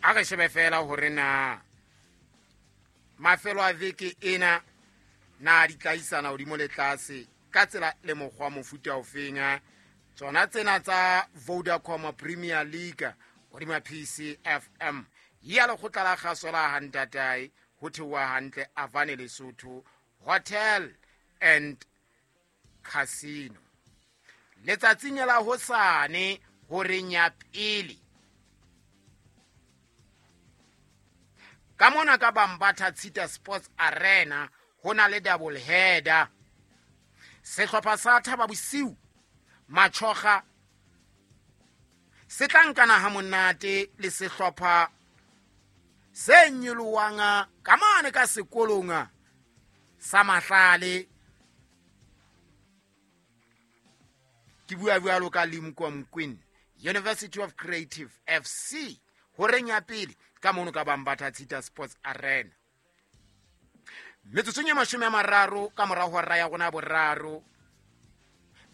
A re shebe fela hore na mafelo a veke ena na di tlaisana hodimo le tlase ka tsela le mokgwa mofuta ofeng. Tsona tsena tsa Vodacom Premier League hodima PCFM ya lekgotla la kgaso la hantatae ho theoha hantle Avane Lesotho Hotel and Casino. Letsatsing la hosane horeng ya pele ka mona ka Bambatha Tshita Sports Arena ho na le double header. Sehlopha sa Thaba Bosiu Machoga se tla nkana ha monate le sehlopha se nyolowang ka mane ka sekolong sa Mahlale. Ke bua bjalo ka Limkokwing University of Creative FC horeng ya pele ka mono ka Bambatha Tshita Sports Arena. Metsotsong ya 30 ka mora hora ya rona boraro,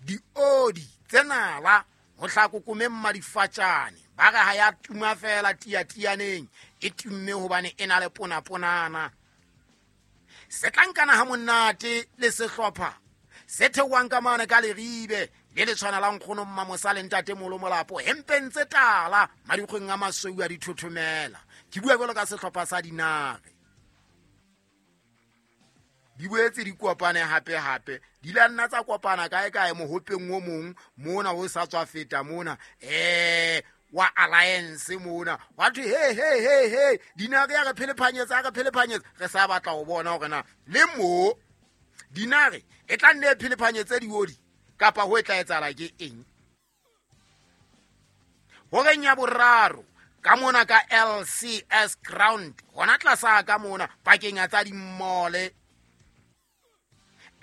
diodi tse nala ho hlakokome mmadifatjane ba re ha ya tuma fela tiatianeng, e tumme hobane e na le ponaponana. Se tla nkana ha monate le sehlopha se theohang ka mane ka Leribe le le tshwana la nkgono Mmamosa le ntate Molo Molapo, hempeng tse tala madikgweng a masweu a dithothomela. Ke bua jwalo ka sehlopha sa Dinare. Di boetse di kopane hape hape, di la nna tsa kopana kae kae mohopeng o mong mona o sa tswa feta mona wa Alliance mona wa thwe he he he he Dinare ya re phelephanyetsa, ya re phelephanyetsa. Re sa batla ho bona hore na le mo Dinare e tla nne e phelephanyetse diodi kapa ho e tla etsahala ke eng. Horeng ya boraro ka mona ka LCS ground hona tlasa ka mona pakeng ya tsa dimmole,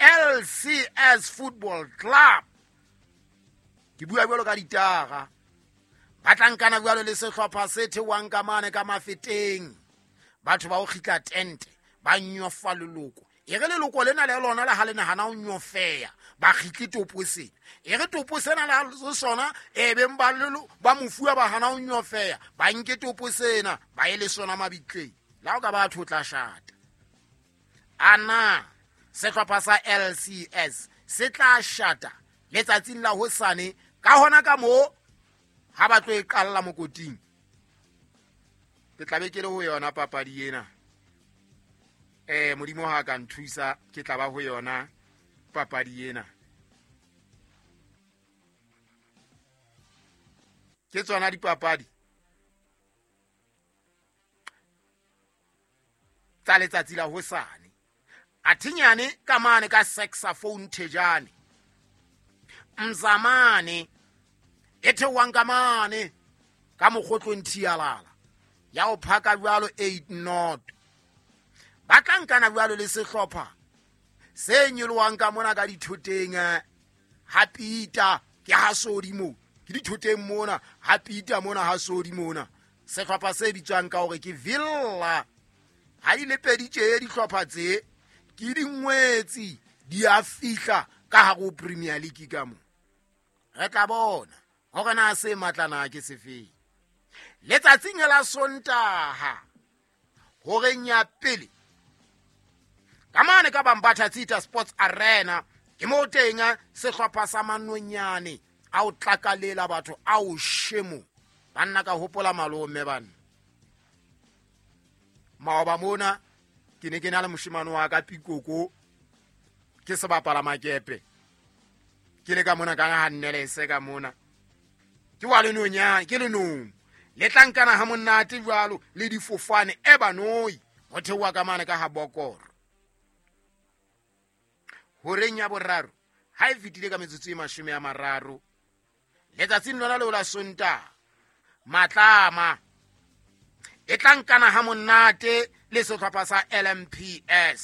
LCS Football Club. Ke bua jwalo ka ditara ba tla nkana jwalo le sehlopha se theohang ka mane ka Mafeteng. Batho ba o kgitla tente ba nyofa leloko, e re leloko lena le lona le ha le nahana ho nyofeya ba kgitle topo sena, e re topo sena le ha le sona e beng ba lelo ba mofuwa ba hana ho nyofeya ba nke topo sena ba ye le sona mabitleng. La o ka batho o tla shata. Ana sehlopha sa LCS se tla shata letsatsing la hosane ka hona ka moo ha ba tlo e qalla mokoting. Ke tla be ke le ho yona papadi ena. Modimo ha ka nthusa ke tla ba ho yona papadi ena. Ke tsona dipapadi tsa letsatsi la hosane. Athinyane ka mane ka saxophone thejane Mzamane e theohang ka mane ka mokgotlong thialala ya ho phaka jwalo 8 not. Ba tla nkana jwalo le sehlopha se nyolohang ka mona ka dithoteng ha Peter ke ha Sodi mo ke dithoteng mona ha Peter mona ha Sodi mona. Sehlopha se bitswang ka hore ke Villa. Ha di le pedi tje dihlopha tse ke dingwetsi di a fihla ka hare ho Premier League ka mo. Re tla bona hore na se matlana ke sefeng. Letsatsing la Sontaha horeng ya pele ka mane ka Bambatha Tshita Sports Arena ke mo teng sehlopha sa Manonyane a o tlakalela batho a o shemo. Banna ka hopola malome banna. Maoba mona ke ne ke na le moshemane wa ka Pikoko ke sebapala makepe ke le ka mona ka ha nnelese ka mona ke wa lenonyane ke lenong le tla nkana ha monate jwalo le difofane e banoi ho theoha ka mane ka ha Bokoro. Horeng ya boraro ha e fetile ka metsotso e 30 letsatsing lona leo la Sontaha Matlama e tla nkana ha monate le sehlopha sa LMPS.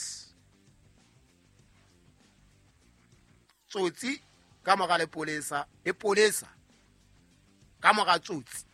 Tsotsi ka mora lepolesa, lepolesa ka mora tsotsi.